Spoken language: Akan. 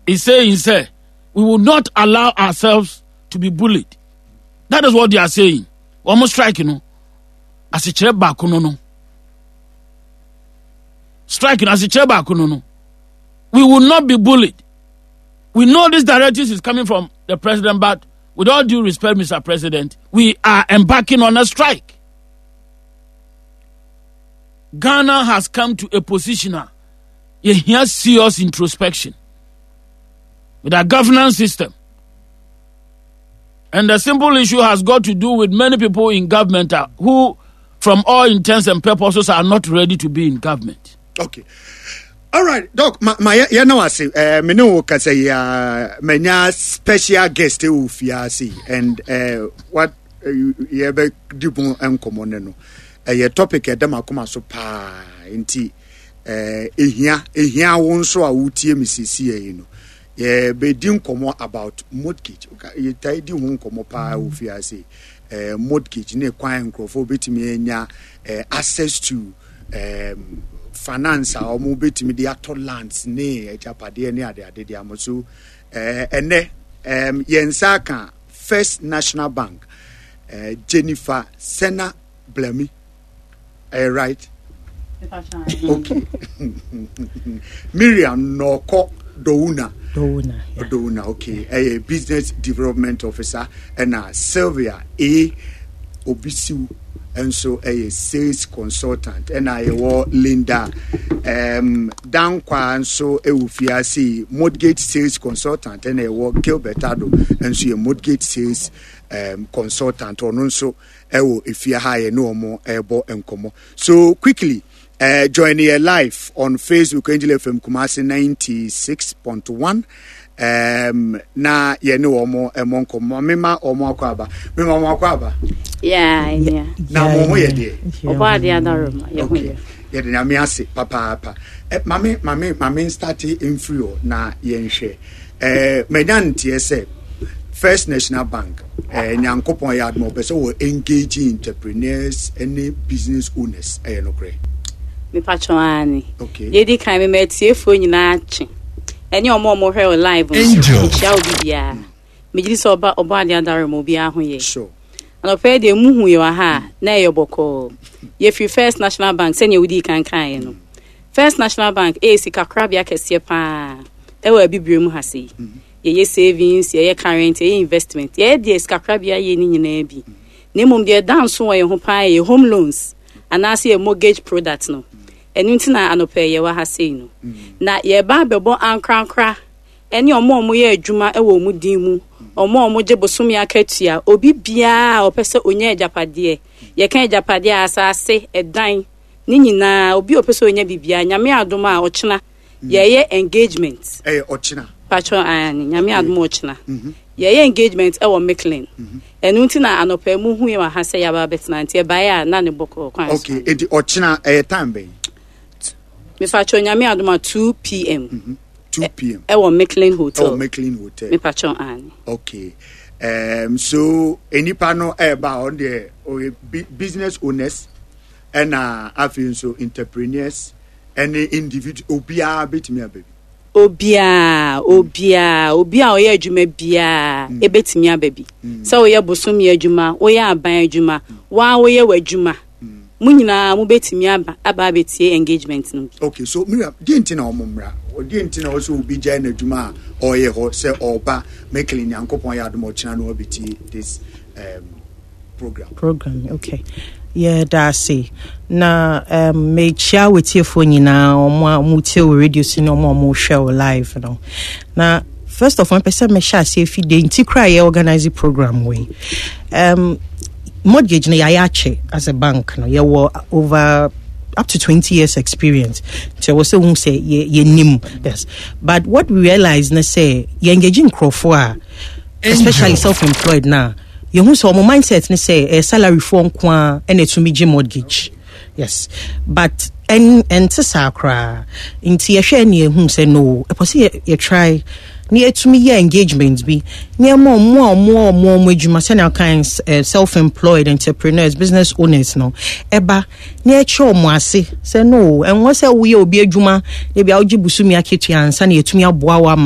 is saying sɛ we will not allow ourselves to be bullied. That is what they are saying. Wɔn strike no asekyerɛ baako no. Strike no asekyerɛ baako no. We will not be bullied. We know this directive is coming from the president, but with all due respect, Mr. President, we are embarking on a strike. Ghana has come to a position now. You hear serious introspection with our governance system. And the simple issue has got to do with many people in government who, from all intents and purposes, are not ready to be in government. Okay. All right, Doc, ma yɛ na wase me ne wo kasa yi a manya special guest wɔ fie ase and what yɛbɛdi ho nkɔmmɔ ne no ɛyɛ topic ɛda m'akoma so paa nti ehia wo nso a wotie me sisi yi no yɛbɛdi nkɔmmɔ about mortgage. Yɛtae di ho nkɔmmɔ paa wɔ fie ase, mortgage ne kwan nkurɔfoɔ bɛtumi anya access to finance a wɔn bɛtumi de atɔ lands ne agyapadeɛ ne adeade de ama so. Ɛnɛ yɛn nsa aka First National Bank Jennifer Sena Blami, right? Okay. Miriam Nɔkɔ Dowuna. Dowuna, yeah. Dowuna, okay. Ɛyɛ business development officer ɛna Sylvia A. Obisiw nso ɛyɛ sales consultant ɛna yɛwɔ Linda Dankwa nso ɛwɔ fiase, mortgage sales consultant, ɛna yɛwɔ Gilbert Ado nso yɛ mortgage sales consultant, ɔno nso ɛwɔ efie ha yɛ ne wɔn ɛrebɔ nkɔmɔ. So quickly, join yɛ live on Facebook, Angel FM Kumasi 96.1, na yɛne wɔn ɛmɔ nkɔmɔ. Mema wɔn akɔ aba, mema wɔn akɔ aba. Yeah. Na mo ho yɛ deɛ? Ɔbɔ adeɛ adaroma, yɛ ho yɛ. Yɛde Nyame ase papaapa. Mame start mfiri hɔ na yɛnhwɛ. Manya nteɛ sɛ First National Bank, Nyankopɔn yɛ adom, ɔpɛ sɛ wɔ engage entrepreneurs ne business owners, ɛyɛ nokorɛ? Mepatwɔ ane. Okay. Yɛdi kan, mema atiefoɔ nyinaa kye ɛne ɔmo a ɔmo hwɛ wɔ live nso. Angel. Mekyia wo bibiara. Megye di sɛ ɔba ɔbɔ adeɛ adaroma obiara ho yɛ. Sure. Anɔpɛ yi deɛ muhu yɛ wɔ ha a na ɛyɛ bɔkɔɔ. Yɛfiri First National Bank sɛnea wodii kan kaeɛ no. First National Bank ɛyɛ sikakorabea kɛseɛ paa ɛwɔ Abibire mu ha sei. Yɛyɛ savings, yɛyɛ current, yɛyɛ investment. Yɛyɛ deɛ sikakorabea yɛ no nyinaa bi. Na mmom deɛ ɛda nso wɔ yɛn ho paa yɛ home loans anaasɛ yɛ mortgage product no. Ɛno nti na anɔpɛ yi yɛwɔ ha sei no. Na yɛreba abɛbɔ ankorankora ɛne ɔmo a ɔmo yɛ adwuma ɛwɔ ɔmo din mu, ɔmo a ɔmo gye bosome akatua, obi biara a ɔpɛ sɛ onya agyapadeɛ. Yɛka agyapadeɛ a, asase, ɛdan, ne nyinaa, obi a ɔpɛ sɛ onya biribiara, Nyame adom a ɔkyena yɛyɛ engagement. Ɛyɛ ɔkyena? Patro ayane, Nyame adom a ɔkyena. Yɛyɛ engagement ɛwɔ Micklin. Ɛno nti na anɔpa mu hu yɛ wɔ ha sɛ yɛaba abɛtena, nti ɛbaeɛ a na ne bɔkɔɔ kwan so. Okay, enti ɔkyena ɛyɛ time bɛn? Mepatro Nyame adom a 2 p.m. 2 p.m. Ɛwɔ Micklin Hotel. Ɛwɔ Micklin Hotel. Mepatro ane. Okay. So nipa no ɛɛba a ɔno deɛ ɔyɛ business owners ɛna afei nso entrepreneurs ɛne individual, obiara bɛtumi aba bi? Obiara, obiara, obi a ɔyɛ adwuma biara ebetumi aba bi. Sɛ woyɛ bosome adwuma, woyɛ aban adwuma, waa woyɛ w'adwuma, mo nyinaa mobɛtumi aba abɛtie engagement no bi. Okay, so Miriam, deɛ nti na ɔmo mmra, deɛ nti na ɔsɛ obi gyae n'adwuma a ɔyɛ hɔ sɛ ɔba Micklin, Nyankopɔn yɛ adom ɔkyena no ɔbɛtie this program? Program, okay. Yɛda ase na mekyia w'atiefoɔ nyinaa, ɔmo a ɔmo tie wɔ radio so ne ɔmo a ɔmo hwɛ wɔ live no. Na first of all, mpɛ sɛ mehyɛ aseɛ fi de nti koraa yɛ organize program wei. Mortgage no yɛayɛ akyɛ as a bank no, yɛwɔ over up to 20 years experience, nti ɛwɔ sɛ wohu sɛ yɛnim. Yes, but what we realize ne sɛ yɛengage nkurɔfoɔ a, especially self-employed, na yɛhu sɛ ɔmo mindset ne sɛ ɛyɛ salary foɔ nko a ɛna ɛtumi gye mortgage. Yes, but ɛnte saa koraa. Nti yɛhwɛ ne yɛhu sɛ no, ɛpɔ sɛ yɛtry na yɛtumi yɛ engagement bi nneɛma ɔmo a ɔmo adwuma sɛnea ɔkan self-employed, entrepreneurs, business owners no ɛba na yɛkyerɛ ɔmo ase sɛ no, ɛnwɔ sɛ woyɛ obi adwuma na ebi a wogye bosome akatua ansa na yɛtumi aboa wo ama.